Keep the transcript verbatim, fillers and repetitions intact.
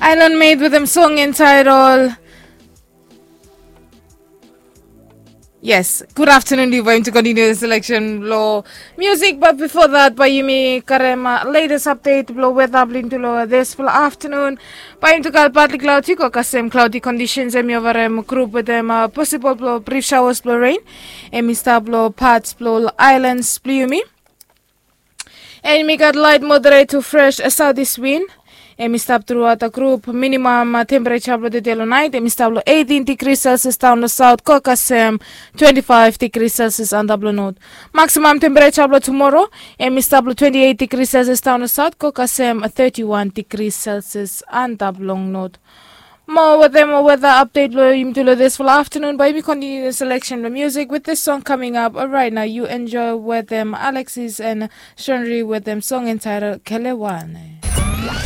Island Maid wetem song entitled. Yes, good afternoon to you. Bae yumi tu continue the selection blo music, but before that bae yumi karem latest update blo weather blo yumi tu lo this blo afternoon. Bae yumi tu gat partly cloudy ko kasem cloudy conditions, em i ovarem group wetem possible blo brief showers blo rain. Em i stap lo parts blo islands blo yumi. Em i gat light moderate to fresh southeast wind. Em i stap throughout the group. Minimum temperature blo tede lo night em i stap lo eighteen degrees Celsius down lo south ko kasem twenty-five degrees Celsius antap lo north. Maximum temperature blo tomorrow em i stap lo twenty-eight degrees Celsius down lo south ko kasem thirty-one degrees Celsius antap long north. Mo wetem weather update blo yumi tu lo this blo afternoon, bae yumi continue the selection blo music with this song coming up right now. You enjoy wetem Alexis and Shenri wetem song entitled Kelewane.